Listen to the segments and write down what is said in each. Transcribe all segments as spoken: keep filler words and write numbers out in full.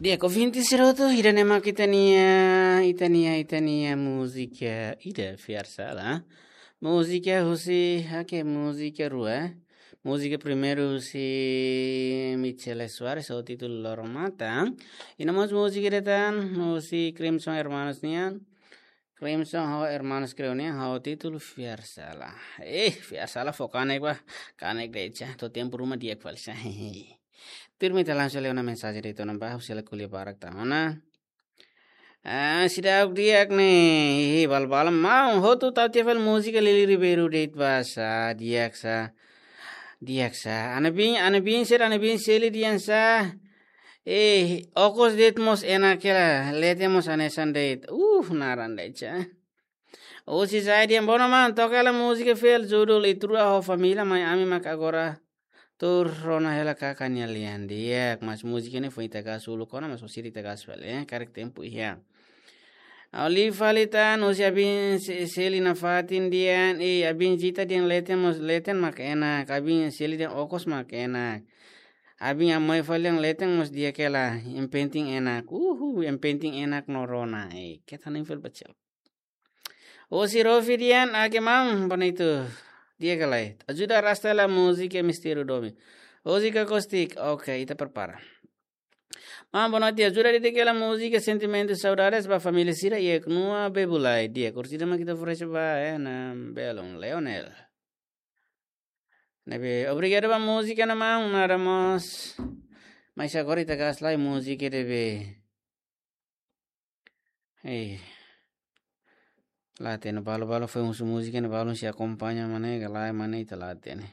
Di'ak, ouvinte sira hotu, ida-ne'e mak ita-nia, ita-nia, ita-nia múzika ida, Fiar Sala. Múzika husi, oke, múzika rua. Múzika primeiru husi Michele Soares, ho títulu Loro Mata. I no mós múzika ida tan, husi Crimson Hermanos nian. Crimson ho Hermanos Creo nian, ho títulu Fiar Sala. Eh, Fiar Sala fó kanek ba, kanek de'it sa, to'o tempu ruma di'ak fali sa. Tuirmai ita langsung lee ona mensajen de'it ona ba, husi hela ko'alia barak tan ona. Ah, seidauk di'ak ne'e, hihi, bal-bal maun, hotu tau tiha fali múzika Lili Ribeiro de'it ba sa, di'ak sa, di'ak sa. Ana biin, ana biin sira, ana biin Seli dehan sa. Eh, okos de'it mós enak hela, leten mós hanesan de'it. Uh, naran de'it sa. Husi Zaidian, bono maun, toka hela múzika fiel judul Ita Rua ho Família, mai ami mak agora tuur rona hela kaka nia lian. Di'ak, mas múzika ne'e foin ita gasta uluk ona, mas orsida ita gasta fali, eh, karik tempu iha. Ha'u lee fali tan, husi Abin Se-, Seli nafatin dehan, eh, Abin Zita dehan leten mós, leten mak enak, Abin Seli dehan okos mak enak. Abin Amoi fali dehan leten mós di'ak hela, yang penting enak. Uhu, yang penting enak no rona, eh, keta nem fel bacel. Husi Rofi dehan, oke maun, bonito. Di'ak ka lae? Ajuda arrasta hela múzika Mistériu Domin. Husi Kakostik, oke, ita prepara. Maun, boa noite, ajuda dedika hela múzika Sentimentu Saudades ba família sira iha Knua Bebulai. Di'ak, orsida mak ita oferese ba, eh, na belun Leonel. Ne'ebé, obrigadu ba múzika ne'e maun, nada mós. Mas agora ita gasta lai múzika ne'ebé. Eh. La hatene, balu-balu foin husu múzika ne'e, balun sei akompaña mane, ka lae mane, ita la hatene.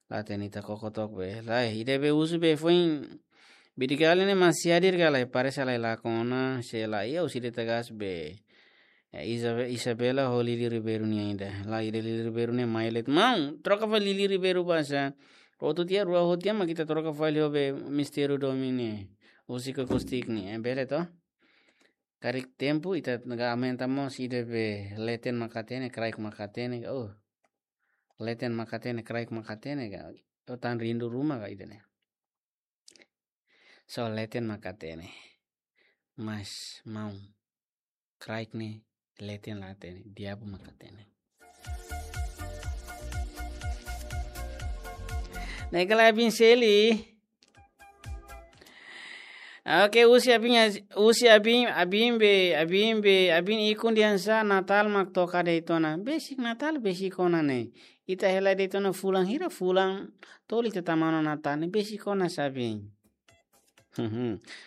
La hatene, ita koko took be. Lae, ida be husu be foin. Bidigali ne'e masiadir ka lae, parese la lakon ona, sei la iha, orsida ita gasta be. Eh, Isabe-, Isabela ho Lili Ribeiro nian ida. La, ida Lili Ribeiro ne'e mai let. Maun, troka fali Lili Ribeiro ba sa. Hotu tiha, rua hotu tiha, mak ita troka fali ho be Mistériu Domin ne'e. Husi Kakostik ne'e, eh, bele to? Karik tempu ita ne'e aumenta mós ida be leten mak hatene, kraik mak hatene, oh. Leten mak hatene, kraik mak hatene, ka. Oh, tan rindu ruma ka ida-ne'e. So leten mak hatene. Mas maun, kraik ne'e leten la hatene, di'abu mak hatene. Ne'e ka lae Abin Seli. Oke, husi Abin, husi Abin, Abin be, Abin be, Abin Ikun dehan sa Natál mak toka de'it ona. Besik Natál, besik ona ne'e. Ita hela de'it ona fulan hira, fulan tolu ita tama ona Natál ne'e, besik ona sa Abin.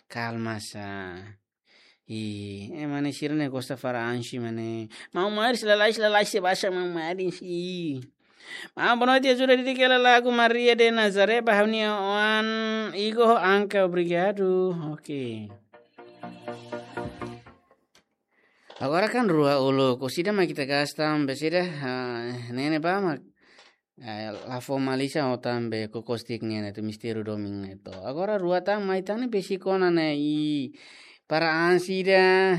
Kalma sa. Ih, eh, mane sira ne'e gosta fara ansi mane. Maun Maris lalais, lalais se basa Maun Maris. Ih. Maun, boa noite, ajuda dedika hela lagu Maria de Nazaré ba ha'u-nia oan Igo ho Anka, obrigadu. Oke. Agora kan rua uluk, orsida mak ita gasta, besida, ah, ne'e ne'ebá mak, eh, la formaliza ho tan be Kakostik nian ne'e to, Mistériu Domin ne'e to. Agora rua tan mai tan ne'e besik ona ne'e, i para ansi ida.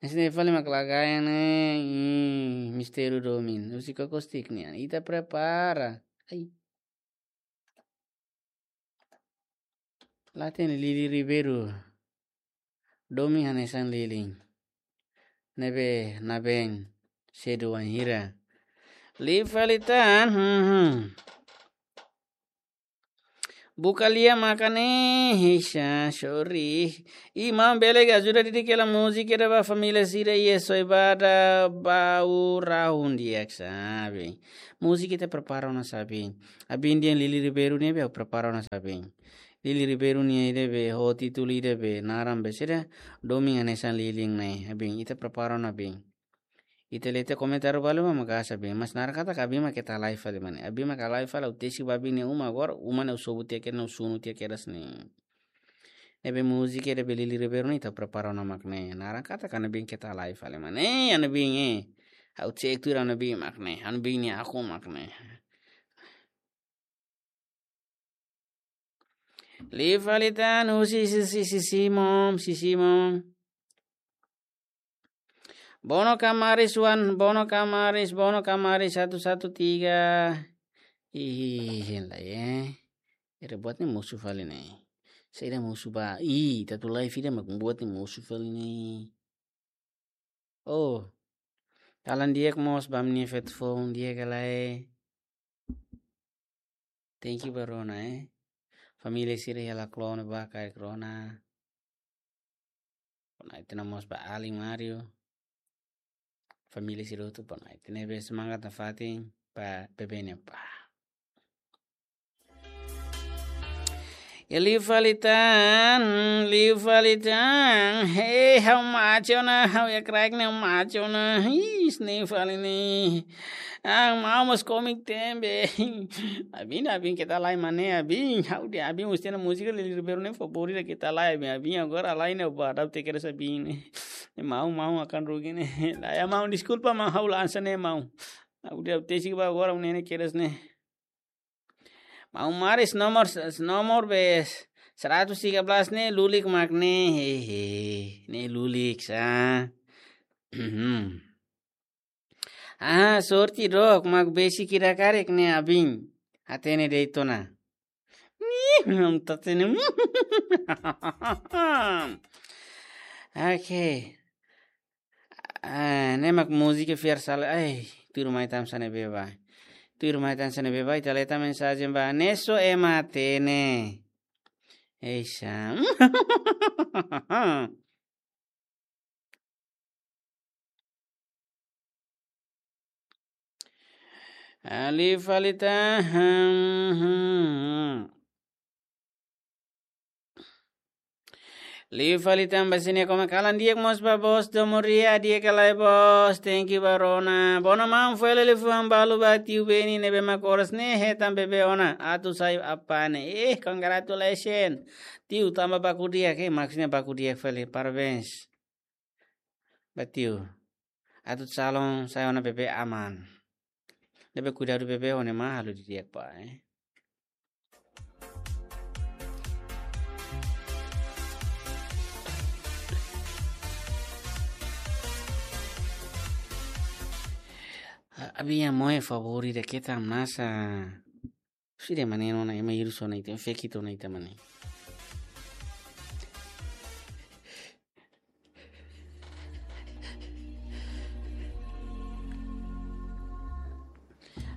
Esse ne'e fali mak lagayan ne'e, i Mistériu Domin. Husi Kakostik nian, ita prepara. Ai. La hatene Lili Ribeiro. Domin hanesan lilin. Ne'ebé nabeen sedu wainhira. Lee fali tan, hmm, hmm. Buka lia maka ne'e, heisa, sorry. I maun bele ka ajuda dedika hela múzika ida ba família sira iha Soibada Baurahun di'ak sa Abin. Múzika ita prepara ona sa Abin. Abin dehan Lili Ribeiro ne'e be prepara ona sa Abin. Lili Ribeiro nia ida be ho títulu ida be naran be sira Domin hanesan lilin ne'e. Abin, ita prepara ona Abin. Ita lee tiha komentáriu balu mak gasta Abin. Mas naran katak Abin mak keta lai fali mane. Abin mak ka lai fali, ha'u tesi ba Abin nia uma agora, uma ne'e ha'u sobu tiha kedas, ha'u sunu tiha kedas ne'e. Ne'ebé múzika ida be Lili Ribeiro ne'e ita prepara ona mak ne'e. Naran katak Abin keta lai fali mane. Eh, Abin, eh. Ha'u cek tuir Abin mak ne'e. Abin nia akun mak ne'e. Lee fali tan, husi, si, si, si, Simon, si, Simon. Bono Kamaris wan, Bono Kamaris, Bono Kamaris satu satu tiga. Ih, hein lai, eh. Ere buat ne'e mosu fali ne'e. Saida mosu ba? Ih, ita atu live ida mak buat ne'e mosu fali ne'e. Oh. Kalan di'ak mós ba ami-nia feto foun di'ak ka lae. Thank you ba rona, eh. Família sira iha Laklone ba karik rona. Bonaire mós ba Ali Mario. Família sira hotu bonaire. Ne'ebé semangat nafatin ba bebé ne'e ba. Liu fali tan, liu fali tan. Hei, ha'u macho ona, ha'u iha kraik ne'e macho ona. Ih, ne'e fali ne'e. Ah, maun mós komik tebes. Abin, abin keta lai mane, abin. Ha'u dehan abin mós iha múzika liuliu baru ne'e favoritu keta lai, abin. Abin agora lai ne'e ba, dau te kere abin ne'e. Maun, maun akan rugi ne'e. Lae, maun, deskulpa, maun, ha'u lansa ne'e, maun. Ha'u dehan tesi ba agora, ne'e ne'e kedas ne'e. Maun Maris nomor, nomor be seratus tiga belas ne'e lulik mak ne'e, hehe, ne'e lulik sa. Ah, sorte dook mak besik ida karik ne'e abin. Hatene de'it ona. Nih, maun hatene. Oke. Ah, ne'e mak múzika fiar sala. Ai, tuirmai tan hanesan ne'ebé ba. Tuirmai tan hanesan ne'ebé ba, ita leta mensajen ba. Neso ema hatene. Ei, Sam. Ali falita. Liu fali tan ba sira-nia komen. Kalan di'ak mós ba bos, domo ria, di'ak ka lae bos. Thank you ba rona. Bono maun, foin lele fuan balu ba tiu Beni ne'ebé mak oras ne'e hetan bebé ona. Atu sai apá ne'e. Eh, congratulations. Tiu, tanba baku di'ak, eh, maksudnya baku di'ak fali. Parabéns ba tiu. Atu calon sai ona bebé aman. Ne'ebé kuidadu bebé ho ne'e mak halo didi'ak ba, eh. A-, abin nia moe favoritu ida keta nasa. Sira mane ona ema hirus ona ita, fake ita ona ita mane.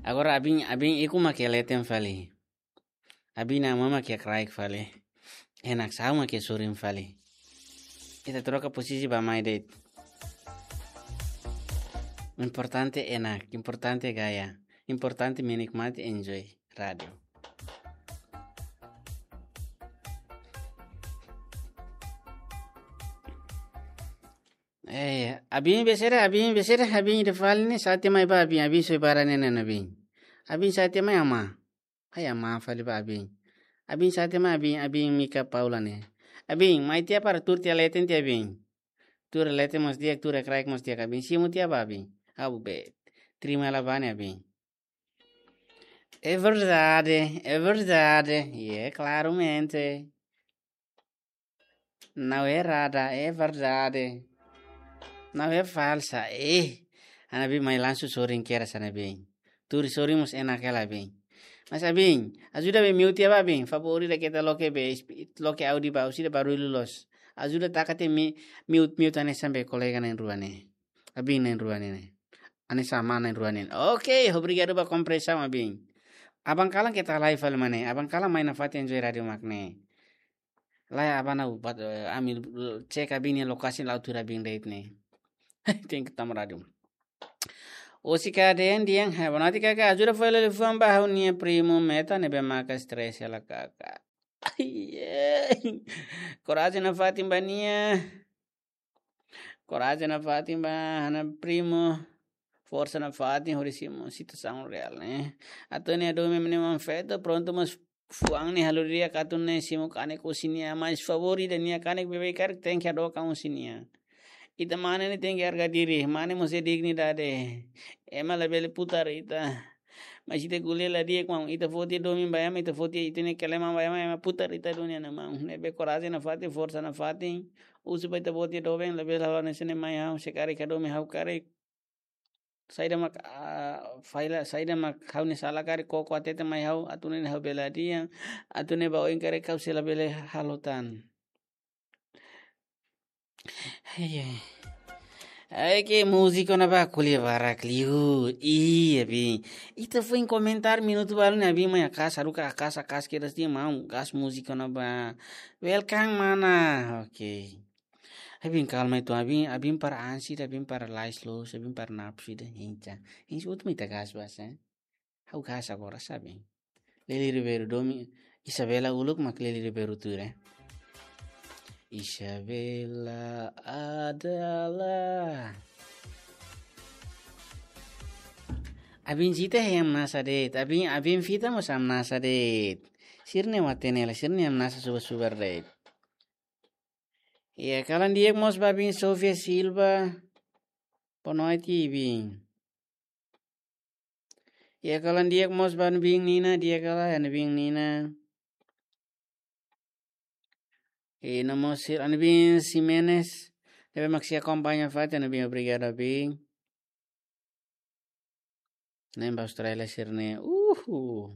Agora abin, abin ikus mak iha leten fali. Abin nia amá mak iha kraik fali. Enak, sa'e mak iha sorin fali. Ita troka posisi ba mai de'it. Importante enak, importante gaya, importante menikmati, enjoy rádiu. Eh, abin besere, abin besere, abin ida fali ne'e, sa'e tiha mai ba abin, abin soi bara ne'e nana abin. Abin sa'e tiha mai amá. Ai amá fali ba abin. Abin sa'e tiha mai abin, abin Mika Paula ne'e. Abin, mai tiha para tuur tiha leten tiha abin. Tuur leten mós di'ak, tuur kraik mós di'ak abin. Simu tiha ba abin. Abu be. Trima la bane abin. É verdade, é verdade. E é claramente. Não é errada, é verdade. Não é falsa, é. Ana bi mai lansu sorin kera sana bem. Tuur sorin mós enak hela bem. Mas abin, ajuda be mute ba abin. Favoritu ida keta loke be, loke áudiu ba, husi ida barullu loos. Ajuda taka tiha mi-, mute, mute hanesan be kolega na'in rua ne'e. Abin na'in rua ne'e. Hanesan amá na'in rua ne'e. Oke, obrigadu ba kompreensaun abin. Aban kalan keta live fali mane. Aban kalan mai nafatin enjoy rádiu mak ne'e. Lae, aban ha'u bá, eh, ami, eh, cek abin nia lokasi la'o tuur abin de'it ne'e. Tenke tama rádiu. Osi ka den diang, hai, bonaire kaka ajuda foin lele fuan ba ha'u-nia primu Meta ne'ebé maka stress hela kaka. Ai, ai. Korajen nafatin ba nia. Korajen nafatin ba ha'u-nia primu. Forsa nafatin hodi simu situasaun reál ne'e. Atu nia domin mane maun feto prontu mós fuan ne'e halo di'ak atu ne'e simu kanek husi nia, mas favoritu ida nia kanek beibeik karik tenke hadook an husi nia. Ita mane ne'e tenke harga diri, mane mós iha dignidade. Ema labele putar ita. Mas ita ko'alia la di'ak maun, ita foti domin ba ema, ita foti ita-nia keleman ba ema, ema putar ita duni na maun. Ne'ebé korajen nafatin, forsa nafatin. Husu ba ita-boot nia doben, labele halo hanesan ne'e mai ha'u, se karik ka domin ha'u karik. Saida mak, ah, falla, saida mak ha'u-nia sala karik koko hatete mai ha'u, atu nune'e ha'u bele adian, atu nune'e ba oin karik ha'u sei la bele halo tan. Ai, ai. Ai, ke múzika ne'ebá ko'alia barak liu. Ih, abin. Ita foin komentar minutu balu ne'e abin mai akas, haruka akas, akas kedas tiha maun, gas múzika ne'ebá. Welcome, mana. Oke. Abin kalma uitoan, abin, abin para ansi, abin para lais loos, abin para napsu ida, hincha. Hincha últimu ita gas basa, eh. Ha'u gas agora, sabe? Lely Ribeiro domin, Isabela uluk mak Lely Ribeiro tuir, eh. Isabela adalah. Abin Zita he hamnasa de'it. Abin, abin Vita mós hamnasa de'it. Sira-ne'e matenek hela, sira-ne'e hamnasa subar-subar de'it. Iha kalan di'ak mós ba abin Sofia Silva. Boa noite, abin. Iha kalan di'ak mós ba abin Nina, di'ak kala abin Nina. I no mós sira abin Ximenes. Ne'ebé mak sei akompaña fatin, abin, obrigadu, abin. Ne'e ba Austrália sira-ne'e. Uhu.